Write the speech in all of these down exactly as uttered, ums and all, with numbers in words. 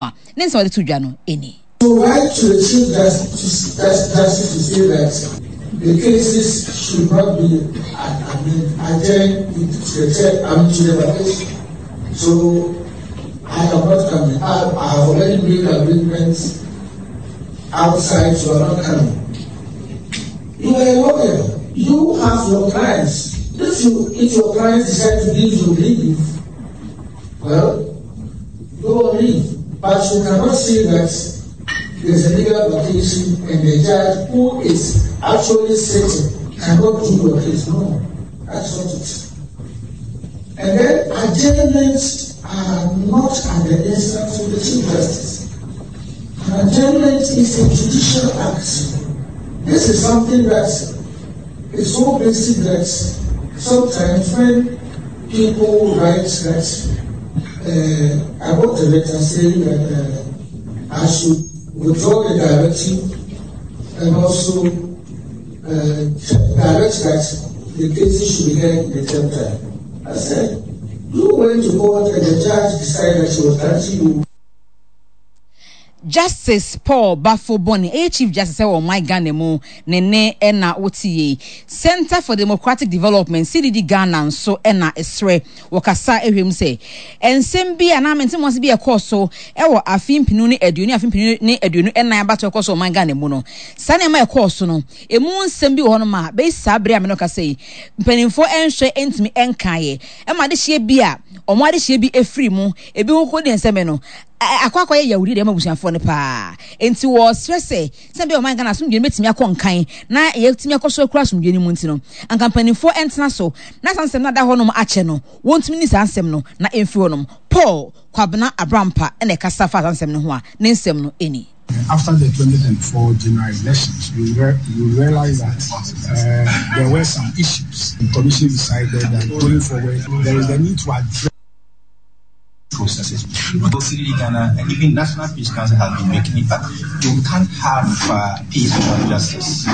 A ne nsɛm a ɔde to dwa no ni. To write to the Chief Justice, Justice to say that the cases should not be adjourned to the chair, I mean, to the vacation. So I am not coming. I, I have already made arrangements outside, so I'm not coming. You are a lawyer. You have your clients. If you if your clients decide to give you leave, well, go on leave. But you cannot say that there's a legal vacation and the judge who is actually sitting cannot do your case. No, that's not it. And then adjournments are not at the instance of the Chief Justice. An adjournment is a judicial act. This is something that is so basic that sometimes when people write that, uh, I wrote a letter saying that uh, I should withdraw the directive and also uh, direct that the cases should be heard in the third time. I said, you went to court and the judge decided she was granting you. Justice Paul Baffoe-Bonnie, ɛyɛ Chief Justice ɛwɔ ɔman Ghana mu, ne ne ɛna wote yei. Center for Democratic Development, C D D Ghana, nso ɛna ɛsrɛ wɔkasa ɛhwɛ mu sɛ nsɛm bi anaa mente bi ɛkɔɔ so ɛwɔ afe mpinu ne aduonu, afe mpinu ne aduonu ɛnan abato ɛkɔ so ɔman Ghana mu no, saa nneɛma ɛkɔɔ so no, emu nsɛm bi wɔ hɔnom a bɛyi saa bere a me no kasa yi, mpanimfoɔ ɛnhwɛ ɛntumi ɛnkaeɛ ɛma adehyeɛ bi a ɔmo adehyeɛ bi efiri mu, ebi ho kɔ di nsɛm no akɔ akɔyɛ yawudi deɛ ɛma abusuafoɔ no paa. Nti wɔsrɛ sɛ sɛ bɛyɛ ɔman Ghana asomdwe no bɛtumi akɔ nkan na yɛtumi akɔ so akura asomdwe no mu nti no, anka mpanimfoɔ ɛntena so na saa nsɛm no ada hɔnom akyɛ no, wɔntumi ni saa nsɛm no na ɛmfiri hɔnom. Paul Kwabena Abrampa ɛna ɛkasa fa saa nsɛm no ho a ne nsɛm no ɛni. After the twenty twenty-four general elections, we, re- we realized that uh, there were some issues. The commission decided that going forward, there is the need to address processes. C D D Ghana and even National Peace Council has been making it, but you can't have uh, peace without justice.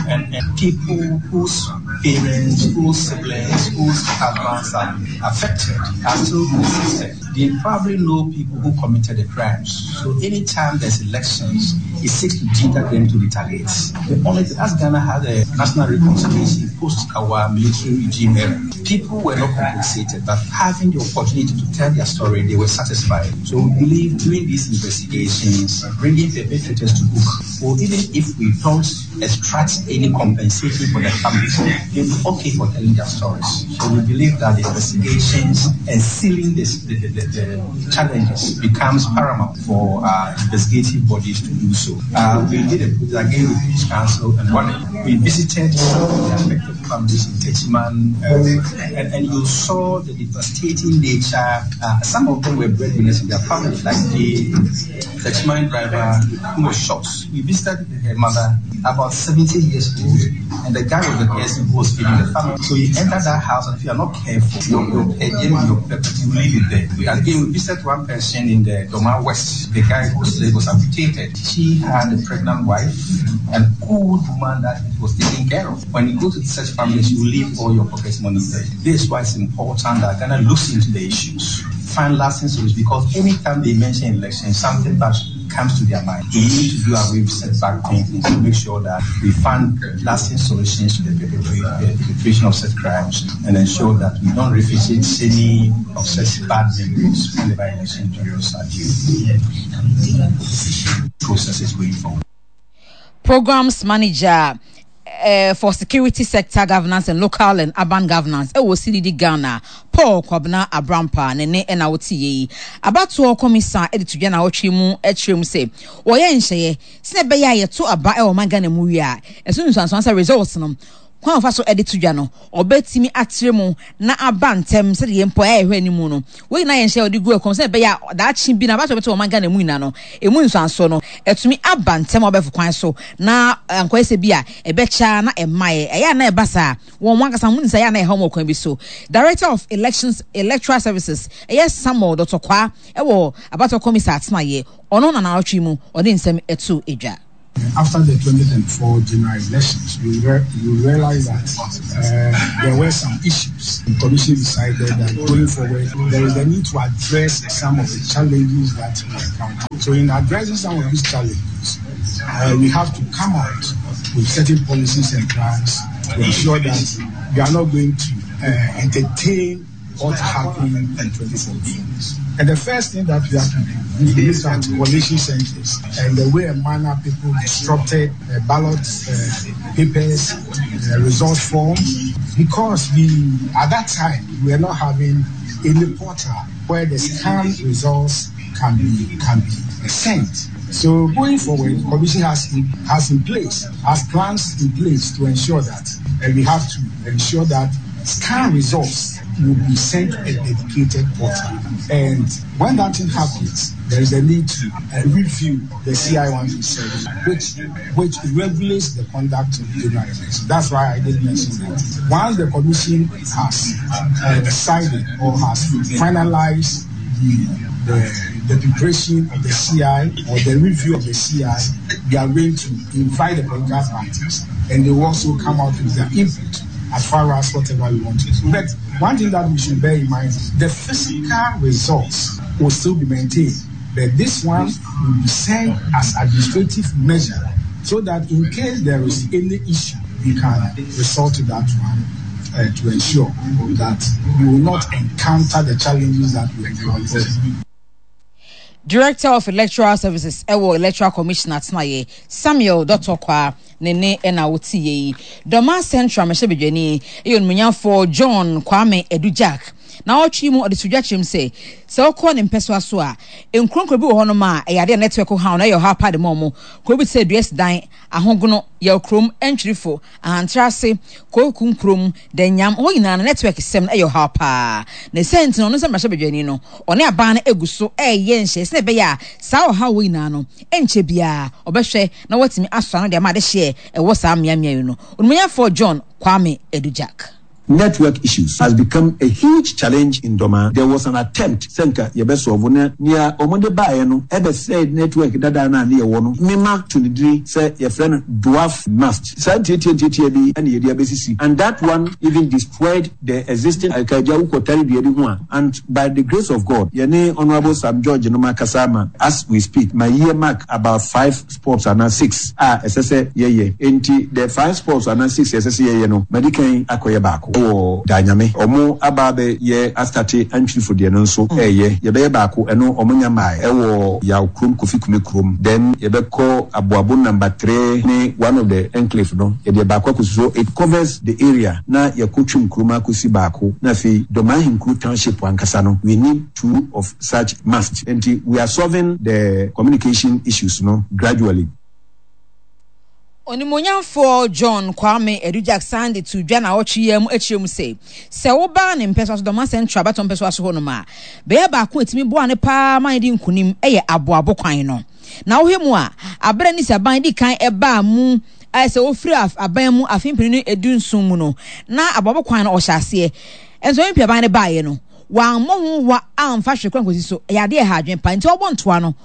And, and people whose parents, whose siblings, whose husbands are affected are still persistent. They probably know people who committed the crimes. So anytime there's elections, it seeks to deter them to retaliate. The only thing, as Ghana had a national reconciliation post our military regime era, people were not compensated, but having the opportunity to tell their story, they were satisfied. So we believe doing these investigations, bringing perpetrators to book, or even if we don't extract any compensation for the families, they'll be okay for telling their stories. So we believe that the investigations and sealing this, the, the, the, the challenges becomes paramount for uh, investigative bodies to do so. Uh, we did a project again with Peace Council and one we visited some of the affected families in Techiman, uh, and, and you saw the devastating nature. Uh, some of them were breadwinners in their family, like the Techiman driver who was shot. We visited her mother, about seventy years old, and the guy was the person who was feeding the family. So you enter that house, and if you are not careful, your, your, your property will leave it there. We, again, we visited one person in the Dormaa West, the guy whose leg was amputated. She had a pregnant wife, an old woman that was taking care of. When you go to such families, you leave all your pocket money there. This is why it's important that Ghana looks into the issues, find lasting solutions, because anytime they mention elections, something bad comes to their mind. We need to do away with setback thinking to make sure that we find lasting solutions to the perpetration of such crimes and ensure that we don't revisit any of such bad memories whenever election periods are due. Processes going forward. Programs Manager uh, for Security Sector Governance and Local and Urban Governance ɛwɔ C D D Ghana, Paul Kwabena Abrampa, ne ne ɛna wote yie yi. Abatoɔ kɔmisa ɛde to dwa na wɔtwe mu ɛkyerɛ mu sɛ wɔyɛ nhyɛeɛ sɛ ɛbɛyɛ a yɛto aba ɛwɔ ɔman Ghana mu wie a, ɛso nsuansoan sɛ results no kwan a wɔfa so de to dwa no, ɔbɛtumi atrɛ mu na aba ntɛm sɛdeɛ mpo ɛyɛ hwɛ anim no. Wɔn nyinaa yɛn hyɛ ɔde gu ɛkɔm sɛ ɛbɛyɛ a daakye bi na abato bɛto ɔman Ghana mu nyinaa no, emu nsuansoɔ no ɛtumi aba ntɛm a ɔbɛfo kwan so na nkɔyɛ sɛ bi a ɛbɛkya na ɛma yɛ ɛyɛ a na ɛba saa wɔn wɔn ankasa wɔn nsa yɛ a na ɛha wɔn kwan bi so. Director of Elections, Electoral Services, ɛyɛ Samuel Dɔtɔkwa, ɛwɔ abato kɔmisa atenaeɛ, ɔno na n'awɔtwe mu ɔde nsɛm ɛto edwa. After the twenty twenty-four general elections, we, re- we realized that uh, there were some issues. The Commission decided that going forward, there is a need to address some of the challenges that we encounter. So in addressing some of these challenges, uh, we have to come out with certain policies and plans to ensure that we are not going to uh, entertain what happened in twenty fourteen. And the first thing that we have to do is look at collation centers and the way and manner people disrupted uh, ballot uh, papers, uh, result forms, because we, at that time, we were not having any portal where the scanned results can be, can be sent. So going forward, the Commission has in, has in place, has plans in place to ensure that, and we have to ensure that scan results will be sent to a dedicated portal. And when that thing happens, there is a need to uh, review the C I one three seven, which, which regulates the conduct of general elections. That's why I did mention that. Once the Commission has, uh, decided or has finalized the, the, the preparation of the C I or the review of the C I, we are going to invite the political parties, and they will also come out with their input as far as whatever we want to do. But one thing that we should bear in mind, the physical results will still be maintained, but this one will be sent as administrative measure so that in case there is any issue, we can resort to that one, uh, to ensure that we will not encounter the challenges that we encountered. Director of Electoral Services, Ewo Electoral Commissioner Tnaye, Samuel Dotokwa, Nene ena wotiye. Dormaa Central Meshebedweni, Eyon Munyafo John Kwame Edujak. Na otwi mu odesudwa kyerem se se okọ ne mpeso aso a enkronkro bi wo ho no ma e yade network ha na ye ha pa de momo ko bi se dues dan ahogono ye okrom entwirifo ahantrase koku nkrom danyam ho nyina na network sem e ye ha pa na sent no no se mrahye no one aban na eguso e ye nhye se be ya sa o ha wo nyina no enche bia obehwe na watimi aso ano de ma de hye e wo saa miamia no onumunyafo John Kwame Edujak. Network issues has become a huge challenge in Dormaa. There was an attempt, Senka Yebeso, near Omonde Bayano, ever said network dada na near one, Mima to the tree, say your friend dwarf mast. And and that one even destroyed the existing and by the grace of God, Yene Honorable Sam George Noma Kasama, as we speak, my year mark about five sports and now six. Ah, S S A, yeah, yeah. Enti the five sports and now six, S S A, yeah, no, Medicaid Akoyabako. O danyame omo ababe ye astate antwifo de no nso eye ye be baako eno omo nya mai ewo ya krom kofi kume krom then ye be ko aboabo number three ne one of the enclave no ye de baako akosi so it covers the area na ye kotwim krom akosi baako na fi Dormaa Hinkru township ankasa no we need two of such must and we are solving the communication issues no gradually. Onimonyamfo John Kwame Edujak Sandy to dwa na otwe yam achirim se se wo ba ne mpeso so Dormaa Central bato mpeso aso ho no ma be ba ko etimi boa ne pa ma di nkunim eye aboabo kwan no na wo hemu a abere ni saban di kan eba mu ai se ofiri aban mu afimpini no edunsun mu no na aboabo kwan no ohyase enso mpia ban ne baaye no wa mo ho wa amfa hwe kwan kosi so ya de ha adwen pa nti obɔ ntoa no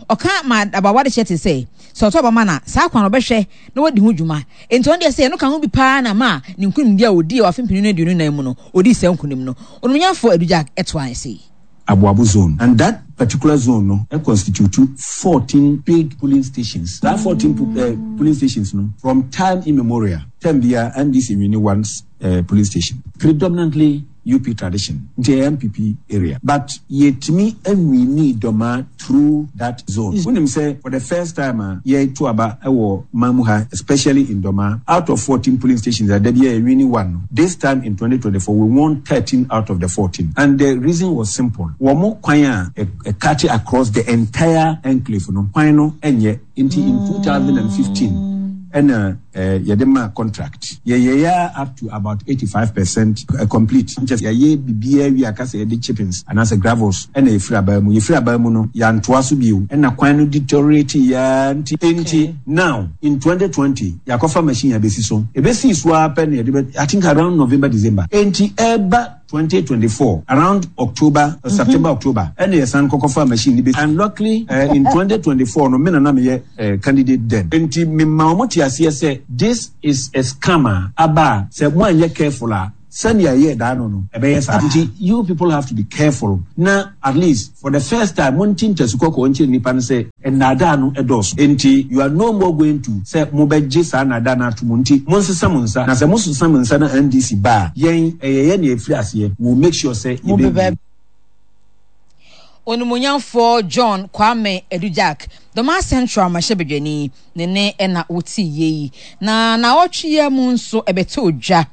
oka ma abawa de chete say so to ba mana saa kwan obehwe na wodi ho dwuma enti on de say no kan ho bi pa na ma ne nkunim dia odi wa fimpini no aduonu nan mu no odi se nkunim no onumunyafo Edujak eto an say Aboabo zone, and that particular zone no it constitute fourteen big polling stations. That fourteen uh, polling stations no from time immemorial ten bia N D C mini one's uh, polling station predominantly U P tradition, J M P P area. But yet me and we need Dormaa through that zone. When him say for the first time, uh, ye two aba ewo mamuha, especially in Dormaa, out of fourteen polling stations, that there be winning one. This time in twenty twenty-four, we won thirteen out of the fourteen, and the reason was simple. Womo kwanya a cut across the entire enclave, no kwano enye in two thousand fifteen, and uh, eh, yɛde ma contract. Yɛyɛyɛ up to about eighty-five percent complete. Nkyɛ yɛyɛ biribiara wie aka sɛ yɛde chippings anaasɛ gravels, ɛna yɛfiri abaa mu. Yɛfiri abaa mu no, yɛantoa so bio, ɛna kwan no deteriorate yaa. Nti enti now in twenty twenty yɛakɔfa machine abɛsi so. Ɛbɛsii so ara pɛ na yɛde bɛ, I think around November, December, enti ɛba twenty twenty-four around October, uh, September, October, ɛna yɛsan kɔkɔfa machine ni bi. And luckily uh, in twenty twenty-four no, me na na meyɛ uh, candidate then, nti mema wɔn te aseɛ sɛ this is a scam a aba a sɛ mo anyɛ careful a, sɛnea ɛyɛ daa no no ɛbɛyɛ saa. Nti you people have to be careful na at least for the first time mo nti ntasu kɔkɔɔ nkyerɛ nipa no sɛ nnaadaa no ɛdɔɔso, nti you are no more going to sɛ mobɛgye saa nnaadaa no ato mu. Nti monsesa mo nsa, na sɛ mosesa mo nsa na N D C ba a, yɛn ɛyɛ yɛn na yɛfiri aseɛ, we will make sure sɛ yɛbɛwie. Onimonyamfoɔ John Kwame Edujak, Dɔma Central mmarahyɛbadwani, ne ne ɛna wote yie yi. Na naawɔtwe yi mu nso ɛbɛtɔ dwa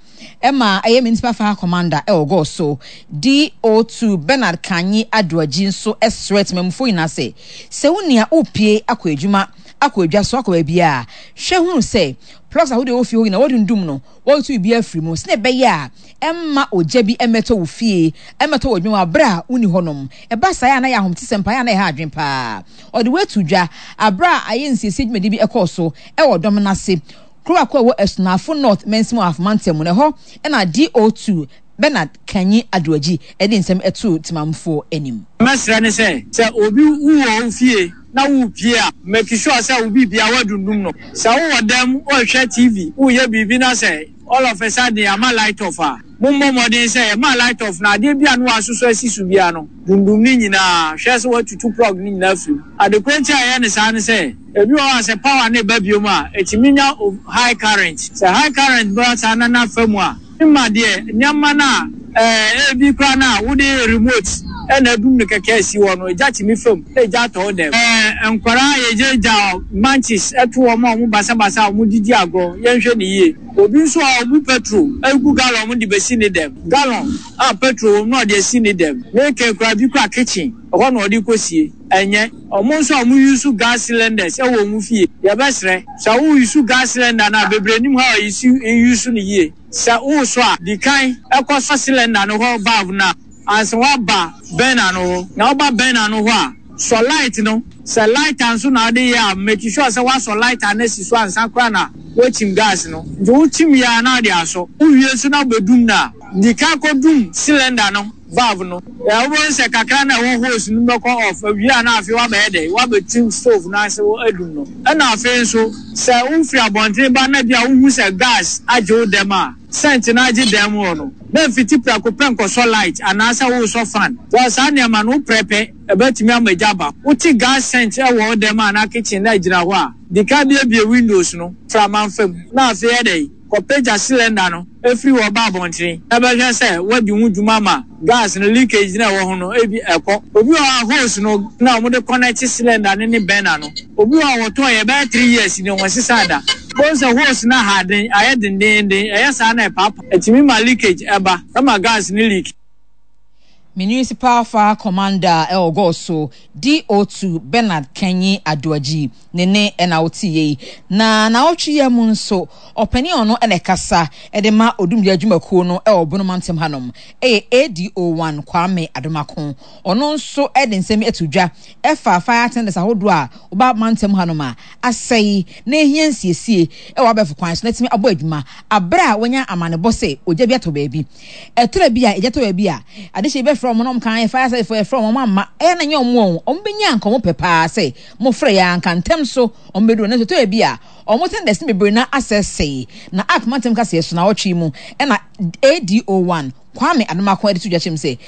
ɛma ɛyɛ municipal fire commander ɛwɔ Goaso, D O two Bernard Kanyi Adoagyi, nso ɛsrɛ temamufoɔ nyinaa sɛ sɛ wo nea wopie akɔ adwuma, akɔ adwa so, akɔ baabi a, hwɛ hunu sɛ plugs ahodoɔ ɛwɔ fie hɔ nyinaa wɔdundum no, wɔretu biribi afiri mu sɛnɛ ɛbɛyɛ a ɛmma ogya bi ɛmɛtɔ wo fie, ɛmɛtɔ wɔ adwuma abere a wonni hɔnom. Ɛba saa a, na yɛ ahomte sɛ mpaeɛ a na ɛha adwen paa. Ɔde wetu dwa abere a ayɛ nsiesie dwumadi bi ɛkɔɔ so ɛwɔ dɔm n'ase kuro baako a ɛwɔ Asunafo North mansin mu Afomantam mu, na ɛhɔ ɛna D O two Bernard Kanyi Adoagyi ɛde nsɛm ɛto temamfoɔ anim. Mɛsrɛ ne sɛ sɛ obi wowɔ wo fie na wopie a, make sure sɛ wo biribia woadundum no. Sɛ wowɔ dɛm wohwɛ T V, woyɛ biribi na sɛ all of a sudden ama light off a, mommɔ mmɔden sɛ yɛma light off na adeɛ bi a no wasosɔ asi so bia no, dundum ne nyinaa. Hwɛ sɛ woatutu plug ne nyinaa firi mu. Adekora nti a ɛyɛ ne saa ne sɛ ebi wɔ hɔ a sɛ power ne ba biom a, ɛtumi nya high current. Sɛ high current ba saa na nafa mu a, mma deɛ nneɛma no a ɛɛ ebi koraa no a wode remote ɛna adum no kɛkɛ asi hɔ no, egya tumi fam na egya atɔ wo dɛm. Ɛɛ nkwaraa yɛgyagya matches ɛto wɔn a wɔn basabasa a wɔn didi agorɔ, yɛnhwɛ ne yie. Obi nso a ɔbu petrol egu gallon mu de besi ne dɛm, gallon a petrol wɔ mu na ɔde asi ne dɛm, meke kora bi kora kitchen ɛhɔ na ɔde kɔsie. Ɛnyɛ ɔmo nso a ɔmo use gas cylinders ɛwɔ ɔmo fie, yɛbɛsrɛ sɛ wo use gas cylinder no a, bebree nim ha a use use no yie. Sɛ wosɔ a, di kan ɛkɔ sɔ cylinder no hɔ valve no a ansa waba burner no hɔ. Na woba burner no hɔ a, sɔ light no. Sɛ lighter nso na ɔde yɛ a, make sure sɛ wasɔ lighter no asi so ansa koraa na woakyim gas no. Nti wokyim yɛ a, na ɔde asɔ. Wowie nso na wobɛdum no a, di kan kɔdum cylinder no valve no. Ɛ wobɛhu sɛ kakra na ɛwɔ hose no bɛkɔ off awie a, na afei wabɛyɛ dɛ wabɛtim stove no ase adum no. Ɛna afei nso sɛ wofiri abɔnten ba na bi a wohu sɛ gas agye wo dɛm a, scent no agye dɛm hɔ no, na mfiti prɛko pɛ nkɔsɔ light anaasɛ wosɔ fan. Wɔ saa nneɛma no, woprɛpɛ ɛbɛtumi ama gya ba. Wote gas scent ɛwɔ wo dɛm a na kitchen na gyina hɔ a, di ka biebie windows no frama mfam, na afei ɛdɛ kɔpagya cylinder no efiri hɔ ba abɔntene na bɛhwɛ sɛ wadi ho dwuma ma gas no leakage na ɛwɔ ho no ebi ɛkɔ. Obi wɔ hɔ a, hose no na wɔde connect cylinder no ne burner no, obi wɔ hɔ a wɔtɔn yɛ bɛyɛ three years ni wɔn sisa da bɔn sɛ hose no aha den ayɛ dendenden. Ɛyɛ saa na ɛpaapa, ɛtumi ma leakage ɛba, ɛma gas no leak. Municipal Fire Commander ɛwɔ Goaso, D O two Bernard Kenyi Adoagyi, ne ne ɛna wote yie. Na naawɔtwe yɛ mu nso, ɔpanin ɔno ɛna ɛkasa ɛde ma odumgya adwumakuo no ɛwɔ Bono mantam hanom, ɛyɛ A D O one Kwame Adomako. Ɔno nso ɛde nsɛm ato dwa ɛfa fire tenders ahodoɔ a ɔba mantam hanom a asɛe na ehia nsiesie ɛwɔ abɛɛfo kwan so na ɛtumi abɔ adwuma abere a wɔnya amanebɔ sɛ ogya bi atɔ baabi. Ɛtɔrɔ bi a egya tɔ baabi a, adehyɛ bi bɛfrɛ wɔn na wɔn kan fire service yɛfrɛ wɔn, wɔn amma, ɛyɛ na nyɛ wɔn wɔn wɔn bɛnya nka wɔn pɛ paa sɛ mofrɛ yɛ anka ntɛm so wɔn bɛduru. Na nso ɛtɔrɔ bi a wɔn tenders no bebree na asɛsɛe. Na ak mantam kaseɛ so na ɔtwe mu ɛna A D O one Kwame Adomako ɛde to dwa kyerɛ mu sɛ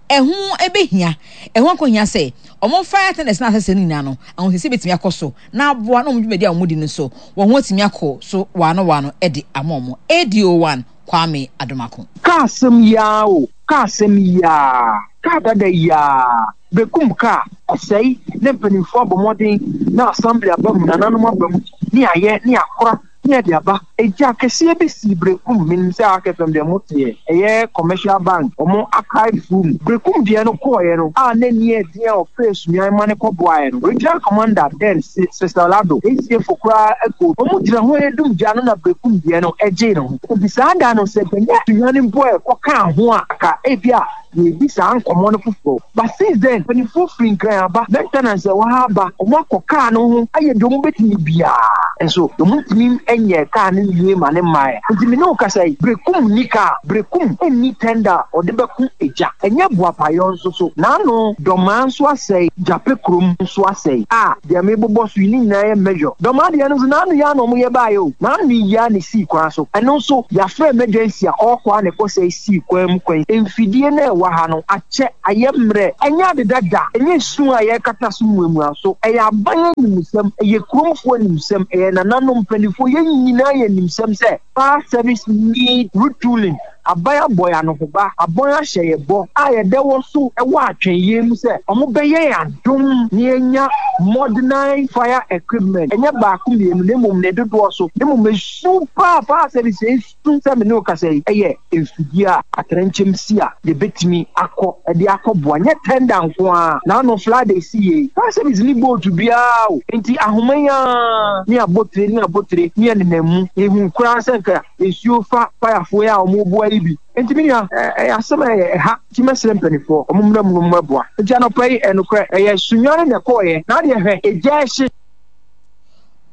ɛho ɛbɛhia, ɛho akɔhia sɛ ɔmo fire tenders na asɛsɛ no nyinaa no ahosiesie bɛtumi akɔ so na aboa na ɔmo dwumadi a ɔmo di no so wɔn ho atumi akɔ so waano waano ɛde ama ɔmo. A D O one Kwame Adomako. Kaa asɛm yaa o, kaa asɛm yaa, kaa dada yaa bekum kaa ɛsɛe, ne mpanimfoɔ abɔ mmɔden na assembly aba mu, nananom aba mu ne ayɛ ne akora. Ne yɛde aba. Egya kɛseɛ bi sii Berekum, menim sɛ Ark F M deɛ moteɛ, ɛyɛ commercial bank, ɔmo archive room. Berekum deɛ no kɔɔeɛ no, a na ani yɛ den a ɔfrɛɛ Sunyani ma no kɔboaeɛ no, regional commander then Cecil Addo, A C F koraa kɔɔ bi. Ɔmo gyina hɔ redum gya no na Berekum deɛ no gyee ne ho. Nti saa da no sɛ bɛnyɛ Sunyani mpo a ɛkɔkaa ho a, anka ebia yɛredi saa nkɔmmɔ no foforɔ. But since then, mpanimfoɔ firi Nkran aba, maintenance a ɛwɔ ha aba, wɔakɔ kaa no ho ayɛ deɛ wɔbɛtumi biara, nso wɔntumi nyɛɛ kaa no nwie ma ne mmaeɛ. Nti me ne wo kasa yi, Berekum nni kaa, Berekum nni tender a ɔde bɛko egya, ɛnyɛ Boapayɔ nso so, N'ano Dɔmaa nso asɛe, Gyape kurom nso asɛe, a deɛ mebobɔ so yi ne nyinaa yɛ measure. Dɔmaa deɛ no nso n'ano yi ara na wɔyɛ baeɛ o, n'ano yi ara na ɛsii kwan so, ɛno nso yɛafrɛ emergency a ɔrekɔ a na ɛkɔsɛe sii kwan mu kwan. Mfidie no a ɛwɔ ha no akyɛ, ayɛ mmerɛ, ɛnyɛ ade dada, ɛnyɛ su a yɛrekata so muamua so, ɛyɛ aban animsɛm, ɛyɛ kuromfoɔ animsɛm, ɛyɛ nananom mpanimfoɔ, yɛn nyinaa yɛ animsɛm sɛ fire service need retooling. Aban abɔ yɛn anohoba, abɔn ahyɛ yɛn bɔ a yɛda wɔ so wɔ atwɛnyɛ mu sɛ wɔbɛyɛ yɛn adom na yɛanya modernized fire equipment, ɛnyɛ baako mmienu na mmom ne dodoɔ so, na mmom esu paa fire service esu sɛ me ne wo kasa yi ɛyɛ mfidie a atrɛnkyɛm si a yɛbɛtumi akɔ de akɔboa, nyɛ tender nko ara, na ano flood esi yie, fire service ni boat biara o, nti ahoma yi ara ne abotire ne abotire ne ɛnenam mu, yɛhu koraa sɛ nka nsuo fa firefoɔ yi a wɔreboa yi bi. Nti me nua, ɛyɛ asɛm a ɛyɛ ɛha, nti mɛsrɛ mpanimfoɔ, wɔn mmra mu na wɔmmɛboa. Nti anɔpa yi, ɛnokorɛ, ɛyɛ Sunyani na ɛkɔeɛ, na adeɛ hwɛ, egya ɛhye.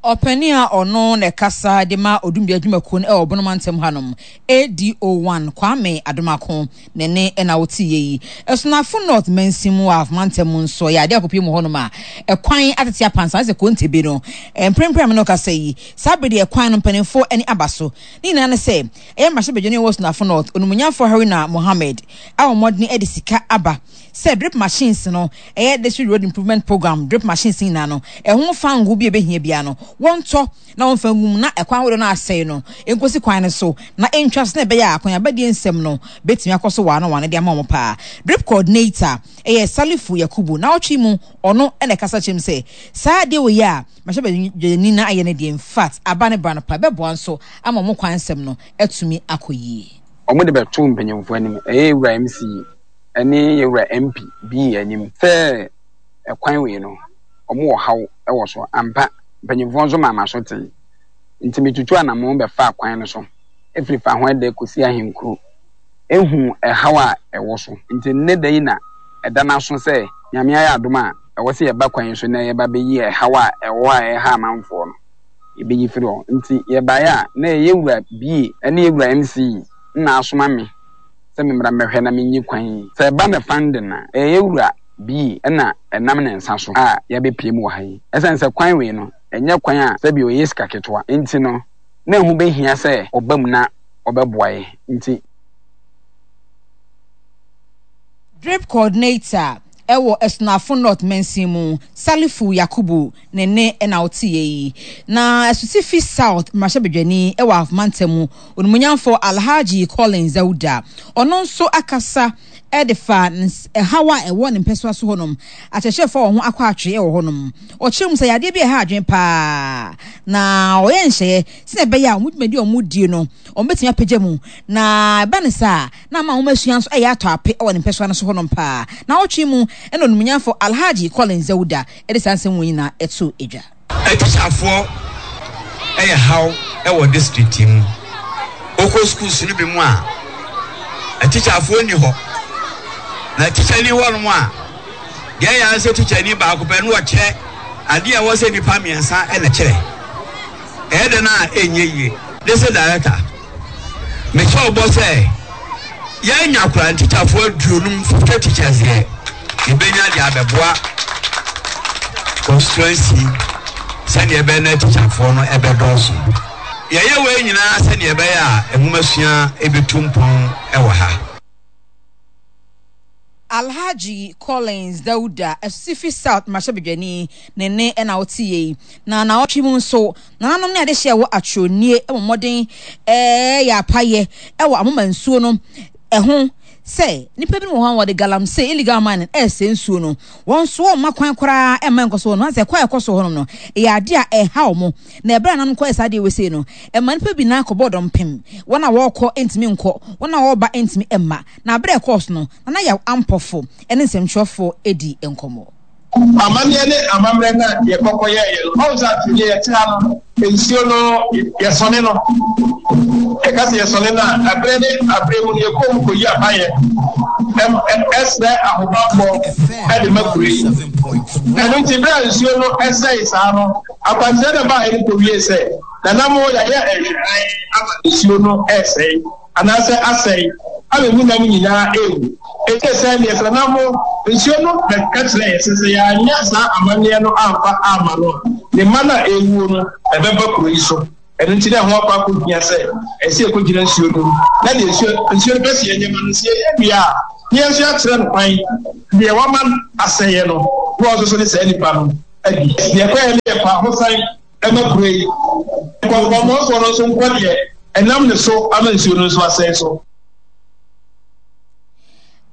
Ɔpanin a ɔno na ɛkasa de ma Odumdua adwumakuo no wɔ Bono mantam hanom, A D O one Kwame Adomako ne ne na woteeɛ yi. Asunafo North mansin mu wɔ Ahafo mantam mu nso, ɛyɛ adeɛ a kɔpue mu hɔnom a, ɛkwan atete apansan sɛ Kontebe no. Mprempren a me ne wo kasa yi, saa bere deɛ ɛkwan no mpanimfoɔ ani aba so. Ne nyinaa ne sɛ, ɛyɛ mmarahyɛbadwani a ɔwɔ Asunafo North, Onimonyamfoɔ Haruna Mohammed a wɔn mmɔden de sika aba sɛ drip machines no, ɛyɛ District Road Improvement Programme drip machines nyinaa no, ɛho fango bi a ɛbɛhia biara no, wɔntɔ na wɔmfa ngu mu na ɛkwan ahodoɔ no a asɛe no nkɔsi kwan no so na ɛntwa so na ɛbɛyɛ a akɔneabadie nsɛm no bɛtumi akɔ so waano waano de ama wɔn paa. Drip coordinator ɛyɛ Salifu Yakubu. Naawɔtwe mu ɔno na ɛkasa kyerɛ mu sɛ saa adeɛ wei a mmarahyɛbadwani no ayɛ no deɛ, in fact aba ne bra no paa, ɛbɛboa nso ama wɔn kwan nsɛm no atumi akɔ yie. Wɔde bɛtoo mpanyimfoɔ anim, ɛyɛ Yɛwura M C ne Yɛwura M P B anim sɛ ɛkwan wei no, wɔwɔ haw wɔ so. Ampa, mpanyimfoɔ nso maa m'aso tee. Nti metutuu anammɔn bɛfaa kwan no so firi Fahoɛdɛ kɔsi Ahenkuro huu ɛhaw a ɛwɔ so. Nti nnɛ da yi na ɛda no aso sɛ Nyame ayɛ adom a ɛwɔ sɛ yɛba kwan yi so na yɛba bɛyi ɛhaw a ɛwɔ hɔ a ɛreha amanfoɔ no, yɛbɛyi firi hɔ. Nti yɛbaeɛ a, na ɛyɛ Yɛwura B ne Yɛwura M C na asoma me sɛ memmra mmɛhwɛ na menyi kwan yi. Sɛ ɛba no funding a, ɛyɛ Yɛwura B na ɛnam ne nsa so a yɛabɛpue mu wɔ ha yi. Ɛsiane sɛ kwan wei no, ɛnyɛ kwan a sɛbi ɔyɛ sika ketewa nti no, na ɛho bɛhia sɛ ɔba mu na ɔbɛboa yɛn nti. Drip Coordinator wɔ Asunafo North mansin mu, Salifu Yakubu ne nne na woteeɛ yi. Na Asutifi South mmarahyɛbadwani wɔ Ahafo mantam mu, Onimuonyamfoɔ Alhaji Collins Dauda, ɔno nso akasa de fa ɛhaw a ɛwɔ ne mpɛsoa so hɔnom, akyerɛkyerɛfoɔ a wɔn ho akɔ atwee wɔ hɔnom. Ɔkyerɛ mu sɛ yadeɛ bi a ɛha adwene paa na ɔyɛ nhyɛeɛ sɛdeɛ ɛbɛyɛ a wɔn dwumadi a wɔdie no wɔbɛtumi apagya mu, na ɛba no saa a na ama nwomasua nso ɛyɛ atɔ ape wɔ ne mpɛsoa no so hɔnom paa. Naawɔtwe mu na Onimonyamfo Alhaji Collins Dauda de saa nsɛm wei nyinaa too dwa. Atikyafoɔ yɛ haw wɔ district yi mu. Wokɔ schools no bi mu a, atikyafoɔ nni hɔ. Na tikyani hɔ nom a, deɛ ɛyɛ ara sɛ tikyani baako pɛ na ɔkyerɛ adeɛ a ɛwɔ sɛ nnipa mmiɛnsa na ɛkyerɛ. Ɛyɛ dɛn a ɛnyɛ yie. District Director, mehyɛ wo bɔ sɛ yɛanya koraa ntikyafoɔ aduonum, fifty teachers deɛ, yɛbɛnya de abɛboa constituency sɛdeɛ ɛbɛyɛ na tikyafoɔ no ɛbɛdɔɔso. Yɛyɛ wei nyinaa sɛdeɛ ɛbɛyɛ a nwomasua ɛbɛtu mpɔn wɔ ha. Alhaji Collins Dauda, Asusifi South mmarahyɛbadwani, ne nne na woteeɛ yi. Na naawɔtwe mu nso, nananom ne adehyeɛ a ɛwɔ Atwerɛnie wɔ mmɔden reyɛ apayɛ wɔ Amoma nsuo no ho sɛ nnipa binom wɔ hɔ a wɔde galamsey, illegal mining, ɛresɛe nsuo no, wɔn nso wɔmma kwan koraa mma ɛnkɔ so hɔ nom. Sɛ kwan a ɛkɔ so hɔ nom no, ɛyɛ adeɛ a ɛha wɔn. Na ɛberɛ a nanom kɔyɛ saa adeɛ wei sei no, ɛma nnipa bi nan kɔbɔ dɔmpem. Wɔn a wɔrekɔ ntumi nkɔ, wɔn a wɔreba ntumi mma. Na berɛ a ɛkɔɔ so no, Nana Yaw Ampɔfo ne nsɛmtwerɛfoɔ dii nkɔmmɔ. Amanneɛ ne amammerɛ no a yɛkɔ kɔyɛeɛ no, ɔhu sɛ afei deɛ yɛte ha no, nsuo no yɛsɔne no. Yɛka sɛ yɛsɔne no a, ɛberɛ ne aberɛ mu no yɛkɔ mu kɔyi abayɛ, ɛsrɛ ahobammɔ de ma kuro yi. Ɛno nti berɛ a nsuo no sɛe saa no, akwankyerɛ no baeɛ no kɔwie sɛ, Nana mo yɛayɛ nhwɛhan ama nsuo no resɛe. Anaasɛ asɛe, ama emu nam nyinaa rewu. Enti sɛ neɛ sɛ na mo, nsuo no bɛka kyerɛɛ yɛ sɛ, sɛ yɛanyɛ saa amanneɛ no amfa amma no a, ne mma no a ɛrewuo no, ɛbɛba kuro yi so. Ɛno nti na ɛho akɔ akɔhia sɛ ɛsɛ yɛkɔgyina nsuo no mu, na deɛ nsuo, nsuo no pɛ sɛ yɛnyɛ ma no, sɛ yɛyɛ wie a, na yɛn nso yɛakyerɛ no kwan, deɛ wama asɛeɛ no, na ɔno nso so ne saa nipa no adi. Deɛ ɛkɔeɛ no yɛ kwahosan. Ɛma kuro yi nkɔnkɔmmɔfoɔ no nso nkɔ deɛ ɛnam ne so ama nsuo no nso asɛe so.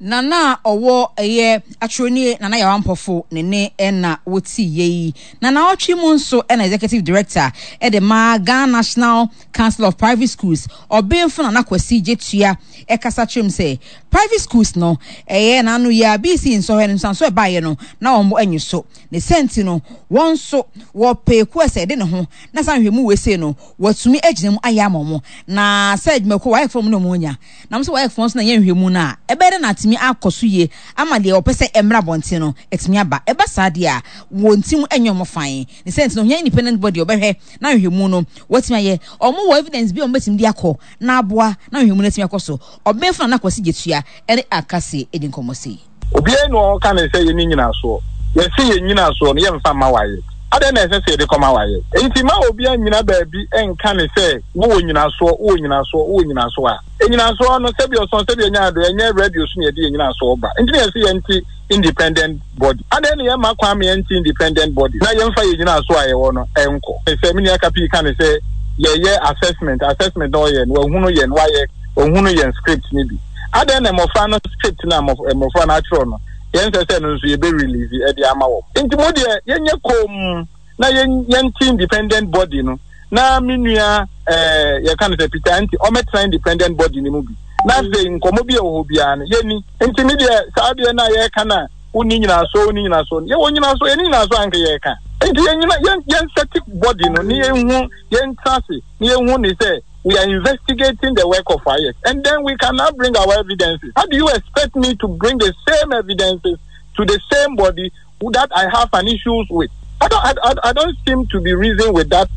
Nana a ɔwɔ ɛyɛ atwerɛnie Nana Yaw Ampɔfo ne ne na wɔti yɛ yi. Na naawɔtwe mu nso na Executive Director de ma Ghana National Council of Private Schools, Ɔbenfo Nana Kwasi Gyetua ɛkasa kyerɛ mu sɛ private schools no ɛyɛ n'ano yɛ a B C nsɔhwɛ no nsanso ɛbaeɛ no na wɔn anyi so. Ne saa nti no, wɔn nso wɔpɛ ekuo a ɛsɛ ɛde ne ho, na saa nhwɛmu wei sei no, wɔatumi agyina mu ayɛ ama wɔn. Na sɛ adwumakuo WAEC foɔ mu na wɔn anya, na wɔn sɛ WAEC foɔ nso na ɛyɛ nhwɛmu no a, ɛbɛyɛ dɛ na atumi akɔ so yie ama deɛ wɔpɛ sɛ ɛmmra abɔnten no atumi aba. Ɛba saa deɛ a, wɔn ti mu nyɛ wɔn fann. Ne saa nti no, wɔhia independent body a wɔbɛhwɛ na nhwɛmu no wɔatumi ayɛ. Wɔn wɔ evidence bi a wɔbɛtumi de akɔ na aboa na nhwɛmu no atumi akɔ so. Ɔbenfo Nana Kwasi Gyetua ne Akase di nkɔmmɔ sei. Obiara nni hɔ a ɔka ne sɛ yɛnni nnyinasoɔ. Yɛse yɛn nnyinasoɔ no, yɛmfa mma wayɛ. Adɛn na ɛsɛ sɛ yɛde kɔma wayɛ? Enti mma obiara nnyina baabi nka ne sɛ wowɔ nnyinasoɔ, wowɔ nnyinasoɔ, wowɔ nnyinasoɔ a. Nnyinasoɔ no, sɛbi ɔsɔn, sɛbi ɛnyɛ ado, ɛnyɛ radio so na yɛde yɛn nnyinasoɔ ba. Enti na yɛse yɛnte independent body. Adɛn na yɛmma kwan ma yɛnte independent body na yɛmfa yɛn nnyinasoɔ a yɛwɔ no nkɔ? Sɛ me nua Kapii ka ne sɛ yɛyɛ assessment, assessment na ɔyɛ no, wahunu yɛn, wayɛ, wahunu yɛn script no bi. Adɛn na mmɔfra no script no a mmɔfra no atwerɛ no, yɛnsɛ sɛ ɛno nso yɛbɛ release de ama wɔn? Nti mo deɛ yɛnyɛ komm na yɛnte independent body no na me nua eh, yɛka no sɛ Peter Anti ɔmɛtena independent body no mu bi na afei nkɔmmɔ bi a ɛwɔ hɔ biara no yɛni. Nti me deɛ saa deɛ no a yɛreka no a wonni nyinasoɔ wonni nyinasoɔ no, yɛwɔ nyinasoɔ, yɛne nyinasoɔ anka yɛreka. Nti yɛnyina yɛn yɛnsɛte body no ne yɛnhu yɛntena ase ne yɛnhu ne sɛ we are investigating the work of I S and then we can now bring our evidences. How do you expect me to bring the same evidences to the same body that I have an issues with? I don't, I, I, I don't seem to be reasoning with that.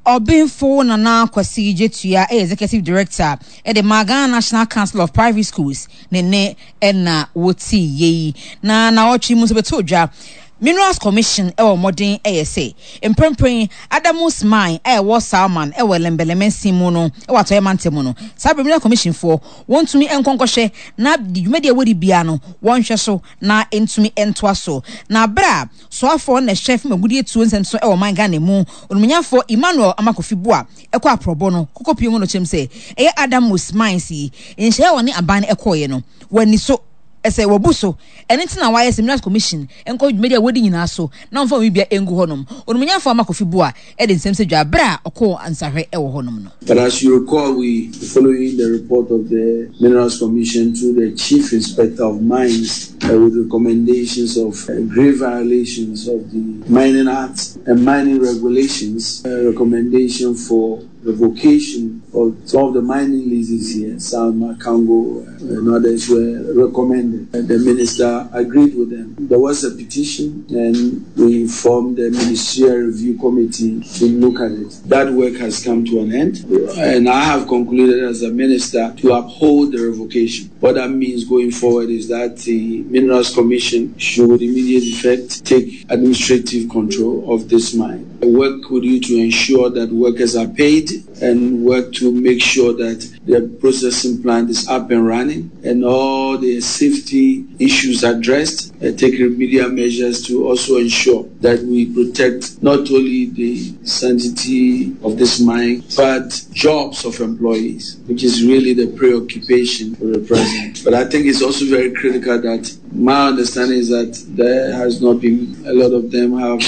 Ɔbenfo Nana Kwasi Gyetua yɛ Executive Director de ma Ghana National Council of Private Schools ne ne na wɔtii yei. Na naawɔtwe mu nso bɛtoo dwa Minerals Commission wɔ mmɔden yɛ sɛ mprempren Adamus Mine a ɛwɔ Salman wɔ Ellembelle mansin mu no wɔ Atɔeɛ Mantam mu no, saa berɛ Minerals Commission foɔ wɔntumi nkɔ nkɔhwɛ na dwumadi a wɔdi biara no wɔnhwɛ so na ɛntumi ntoa so. Na berɛ a soafoɔ na ɛhwɛ fam agudeɛ tuo nsɛm so wɔ ɔman Ghana mu, Onimonyamfoɔ Emmanuel Armah-Kofi Buah kɔ aprɔbɔ no kɔkɔpue mu no kyerɛm sɛ ɛyɛ Adamus Mines yi nhyehyɛeɛ a wɔne aban no kɔeɛ no wɔanni so sɛ wɔabu so. Ɛno nti na wɔayɛ sɛ Minerals Commission nkɔ dwumadi a wɔdi nyinaa so na wɔmfa wɔn biribiara ngu hɔnom. Onimonyamfoɔ Armah-Kofi Buah de nsɛm sɛ dwa bere a ɔkɔɔ nsahwɛ wɔ hɔnom no. But as you recall, we following the report of the Minerals Commission through the Chief Inspector of Mines uh, with recommendations of uh, grave violations of the Mining Act and mining regulations, uh, recommendation for revocation of some of the mining leases here, Salma, Congo, and others were recommended. The minister agreed with them. There was a petition and we formed the Ministerial Review Committee to look at it. That work has come to an end, and I have concluded as a minister to uphold the revocation. What that means going forward is that the Minerals Commission should, with immediate effect, take administrative control of this mine. I work with you to ensure that workers are paid and work to make sure that the processing plant is up and running and all the safety issues addressed, and take remedial measures to also ensure that we protect not only the sanctity of this mine, but jobs of employees, which is really the preoccupation for the present. But I think it's also very critical that my understanding is that there has not been, a lot of them have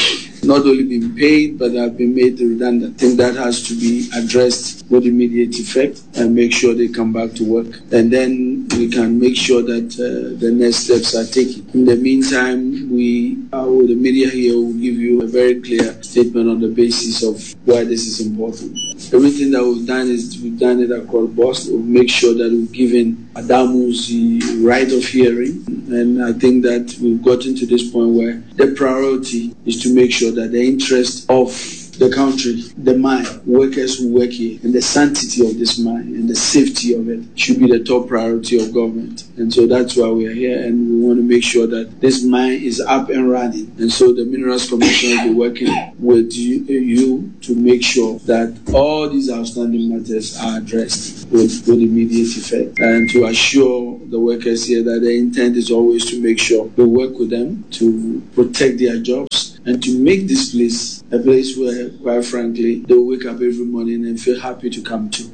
not only been paid, but have been made redundant. I think that has to be addressed with immediate effect and make sure they come back to work. And then we can make sure that uh, the next steps are taken. In the meantime, we, uh, with the media here, will give you a very clear statement on the basis of why this is important. Everything that we've done is we've done it across board. We'll make sure that we've given Adamus the right of hearing. And I think that we've gotten to this point where the priority is to make sure that the interest of the country, the mine, workers who work here, and the sanctity of this mine and the safety of it should be the top priority of government. And so that's why we are here, and we want to make sure that this mine is up and running. And so the Minerals Commission will be working with you, you to make sure that all these outstanding matters are addressed with, with immediate effect, and to assure the workers here that the intent is always to make sure we work with them to protect their jobs and to make this place a place where, quite frankly, they will wake up every morning and feel happy to come to.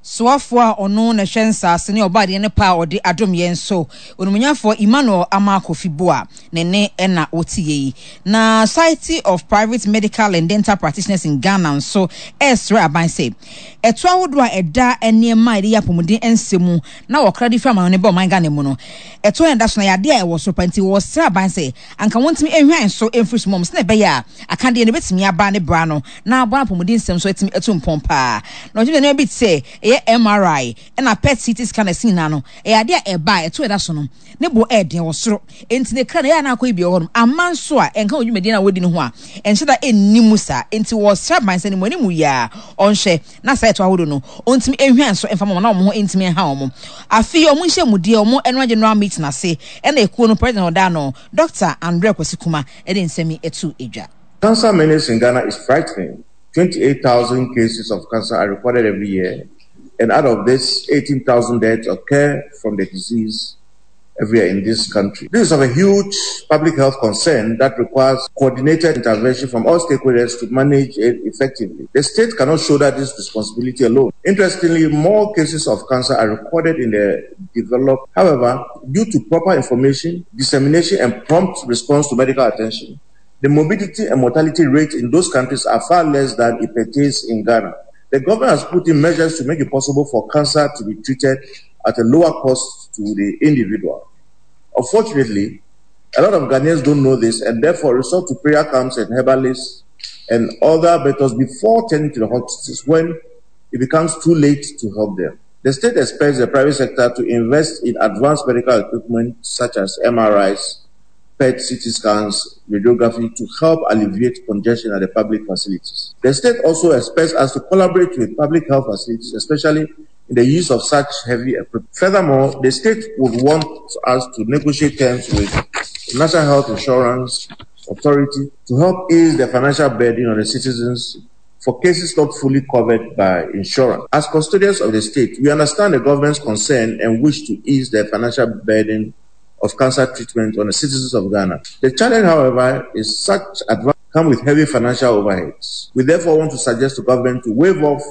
Soafoɔ a ɔno na ɛhwɛ nsaase ne ɔbaadeɛ ne pa a ɔde adom yɛn so, Onimonyamfoɔ Emmanuel Armah Kofi Buah, ne ne ɛna wɔte yɛ yi. Na Society of Private Medical and Dental Practitioners in Ghana nso ɛresrɛ aban sɛ ɛto ahodoɔ a ɛda nneɛma a yɛde yɛ apɔmuden nsɛm mu na wɔkra de firi amanɔne ba ɔman Ghana mu no, ɛto a ɛda so na yɛ adeɛ a ɛwɔ soro pa, nti wɔsrɛ aban sɛ anka wɔntumi nhwan so mfiri so mmom sɛnea ɛbɛyɛ a akadeɛ no bɛtumi aba ne bra no na aboa apɔmuden nsɛm so atumi atu mpɔn paa. Na ɔgye nneɛma bi te sɛ ɛyɛ M R I ɛna P E T C T scan ɛsi nyinaa no, ɛyɛ adeɛ a ɛba a ɛto ɛda so no ne bo ɛɛden wɔ soro, enti ne kra na ɛyɛ anakɔ yi bi wɔ hɔnom ama nso a ɛnka wɔn dwumadie na wɔdi ne ho a ɛnhyɛ da ɛnni mu saa, enti wɔsrɛ aban sɛ ne mu anim yie a ɔnhwɛ na saa ɛto ahodoɔ no ɔntumi nhwɛ nso mfa ma wɔn na wɔn ho ntumi nha wɔn. Afei wɔn nhyɛ mu deɛ wɔn ɛno general meeting ase ɛna ekuo no president ɔda no Doctor Andre Kwesi Kuma ɛde nsɛm yi ɛto edwa. Cancer menace in Ghana is frightening. twenty-eight thousand cases of cancer are recorded every year, and out of this, eighteen thousand deaths occur from the disease every year in this country. This is of a huge public health concern that requires coordinated intervention from all stakeholders to manage it effectively. The state cannot shoulder this responsibility alone. Interestingly, more cases of cancer are recorded in the developed. However, due to proper information, dissemination, and prompt response to medical attention, the morbidity and mortality rate in those countries are far less than it pertains in Ghana. The government has put in measures to make it possible for cancer to be treated at a lower cost to the individual. Unfortunately, a lot of Ghanaians don't know this and therefore resort to prayer camps and herbalists and other methods before turning to the hospitals when it becomes too late to help them. The state expects the private sector to invest in advanced medical equipment such as M R Is, P E T C T scans, radiography to help alleviate congestion at the public facilities. The state also expects us to collaborate with public health facilities, especially in the use of such heavy equipment. Furthermore, the state would want us to negotiate terms with the National Health Insurance Authority to help ease the financial burden on the citizens for cases not fully covered by insurance. As custodians of the state, we understand the government's concern and wish to ease the financial burden of cancer treatment on the citizens of Ghana. The challenge, however, is such advances come with heavy financial overheads. We therefore want to suggest to government to waive off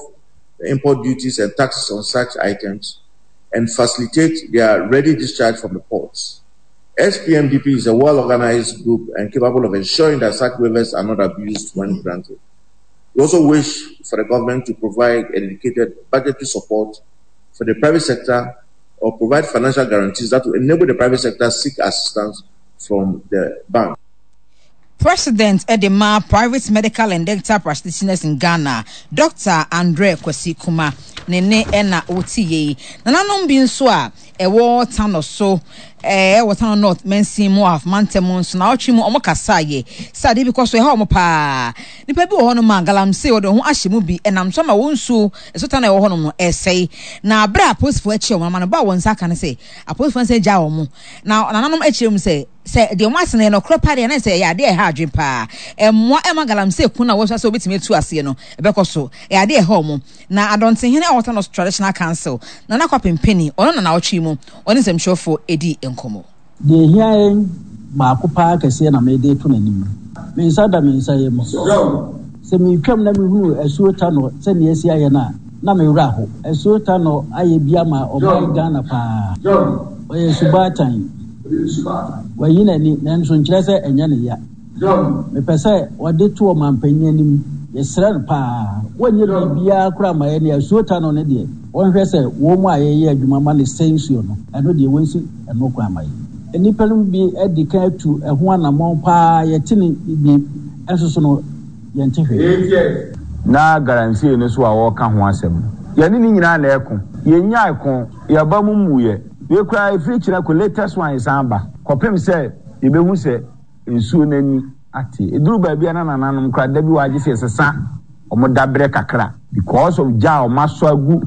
the import duties and taxes on such items and facilitate their ready discharge from the ports. S P M D P is a well-organized group and capable of ensuring that such waivers are not abused when granted. We also wish for the government to provide a dedicated budgetary support for the private sector or provide financial guarantees that will enable the private sector to seek assistance from the bank. President Edema, Private Medical and Dental Practitioners in Ghana, Doctor Andre Kwesi Kuma, Nene Ena O T A. Nananom bi nso a ɛwɔ town so, eh, ɛwɔ town north Mensin mu af mantem nso na ɔtwe mu ɔmo kasa ye. Sɛ ade bi kɔ so ɛha ɔmo paa. Nipa bi wɔ hɔ no ma galamsey wɔde ho ahyɛ mu bi ɛnam so ma wɔn nsuo ɛso tan ɛwɔ hɔ no ɛsɛe. Na abere apolisifoɔ akyi ɔmo ama no ba wɔn nsa aka ne sɛ apolisifoɔ nsa gya ɔmo. Na nananom akyerɛ mu sɛ Sɛ deɛ wɔn ase no yɛ nɔkorɛ paa deɛ, na sɛ ɛyɛ adeɛ a ɛha adwene paa. Mmoa ɛma galamsey ko no a wɔasua sɛ wɔbɛtumi atu aseɛ no, ɛbɛkɔ so. Ɛyɛ adeɛ a ɛha wɔn. Na Adɔntehene a ɔwɔ Thanos Traditional Council, Nana Kwapem Panin, ɔno na naawɔtwe yi mu ɔne nsɛmtwerɛfoɔ dii nkɔmmɔ. Deɛ ɛhia yɛn baako pa ara kɛseɛ na mede reto n'anim. Me nsa da me nsa yam. Sɛ meretwam na mehunu Asuo Tanɔ sɛdeɛ asi ayɛ no a, na me werɛ aho. Asuo Tanɔ ayɛ bi ama ɔman Ghana pa ara. Ɔyɛ subaatan. Wayi n'ani, nanso nkyerɛ sɛ ɛnyɛ ne ya. Mepɛ sɛ wɔde to ɔmanpanyin anim. Yɛsrɛ no paa, wɔnyɛ biribiara koraa mma yɛn Asuo Tanɔ no deɛ, wɔnhwɛ sɛ wɔn a yɛyɛ adwuma ma no sɛe nsuo no, ɛno deɛ wɔnsi ɛno kwan mma yɛn. Nnipa no bi adi kan atu ɛho anammɔn paa, yɛte no bi nso so no, yɛnte hwee. Na galamsey no so a wɔreka ho asɛm no, yɛne ne nyinaa na ɛko. Yɛnnyae ko, yɛn aba mu mmuiɛ. Wei koraa ɛfiri kyena kɔ latest one san ba kɔpem sɛ yɛbɛhu sɛ nsuo no ani ate. Ɛduru baabi a na nananom koraa da bi wɔ agye sɛ yɛsesa wɔn dabrɛ kakra because of gya a wɔn asɔ agu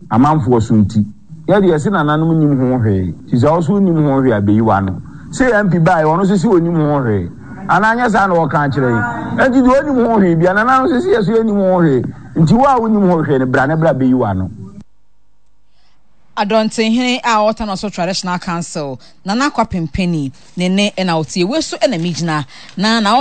amanfoɔ so nti. Yɛ deɛ yɛse nananom nnim ho hwee nti sɛ wo nso wonnim ho hwee a bɛyi w'ano. Sɛ M P baeɛ ɔno nso se ɔnnim ho hwee anaa nyɛ saa na wɔka akyerɛ yɛn? Enti deɛ ɔnnim ho hwee bia nananom nso se yɛ so yɛnnim ho hwee nti wo a wonnim ho hwee no bra na bra bɛyi w'ano. Adɔntenhene a ɔwɔ Tanoso Traditional Council, Nana Kwapem Panin, ne nne na wotie. Wei so na megyina na na